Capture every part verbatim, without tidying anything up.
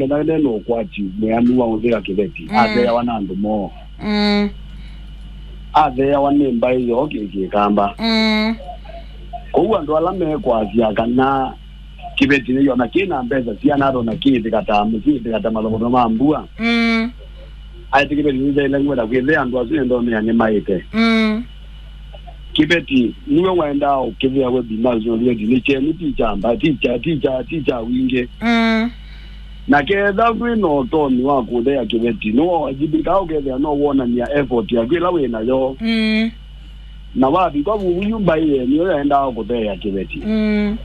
Kenda nene ũkwati mwĩanu wa ũthĩa kĩveti, mm, atheawa na andũ moo. Mm. Atheawa nĩ mbaĩ yoo kĩ-, kĩkamba. Mm. Kwoou andũ ala mekwasya kana kĩveti nĩyona kĩ na mbesa siana atona kĩĩthĩka ta mũsyĩ, kĩĩthĩka ta malovono ma mbua. Mm. Aĩtĩ kĩveti nĩthaĩle ngwenda kwĩthea andũ asu nĩndonea nĩmaĩte. Mm. Kĩveti nĩwe waendaa ũkĩvĩa webinars no kĩveti nĩ kyeni ti kya mba, ti kya, ti kya, ti kya wingĩ. Mm. Na ketha wĩ na ũtonyi wa kũthea kĩveti, nĩwawajibika ũkethĩa no wonania effort yaku ĩla wĩ nayo. Mm. Na wavika vuvu yu mbaĩ yeni yo yaendaa kũtheea kĩveti. Mm.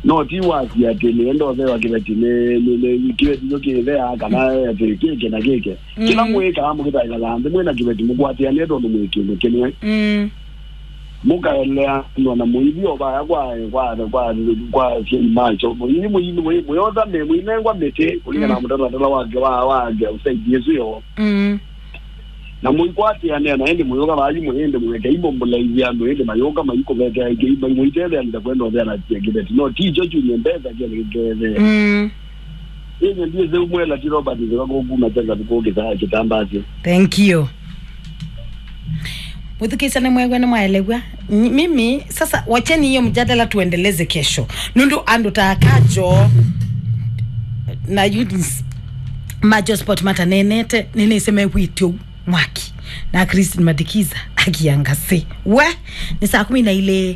No ti wasi atĩ nĩenda ũthewa kĩveti nĩ, nĩ, nĩ kĩveti kyo kĩtheaa kana atĩ kĩkĩ na kĩkĩ. Kĩla, mm, mwĩkaa mũkĩtaĩla nthĩ mwĩ na kĩveti mũkwatĩanĩe tondũ mwĩ kĩndũ kĩmwe. Mm. Mũkaeleanwa na mũithi o vaya kwa, kwa, kwa, kwa asyai macho. Mũithi, mũithi, mũi-, mũyotha me, mũinengwa mĩtĩ kũlingana, mm, na mũtalatala wake wa, wa, wa side ĩsu yoo. Mm. Na mũikwatĩanĩa na ĩndĩ mũyũka vaa yu mũyĩndĩ mũekei mũmbũlaithya andũ ĩndĩ mayũka maikũvetea ĩkĩ mũitetheanĩsya kwenda ũtheanasya kĩveti no ti kyo kyumye mbesa kĩkethee. Mm. Ĩndĩ ndiĩsĩ umwela ti Robert nzĩva kũkuma kyanza kũkĩsaa kĩtambasyo. Thank you. Mwĩthukĩĩsya nĩmwew'a, nĩmwaelew'a. Nyi-, mimi sasa wacheni hiyo mjadala tuendeleze kesho. Nũndũ andũ ta Kajo na Eunice ma Josport mataneenete, nĩnĩsĩ mew'ĩte ũu mwaki. Na Christine Madikiza akiangase. We, nĩ saa kumi na ilĩ.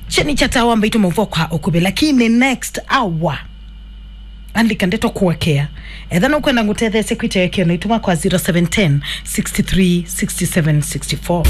Cheni cha tawa mbaitũ maũvoo kwa ũkuvĩ, lakini next hour andĩka ndeto kũekea. Etha nũkwenda ngũtetheesye kwĩtya ĩkĩo na itũma kwa zero seven ten, six three, six seven, six four.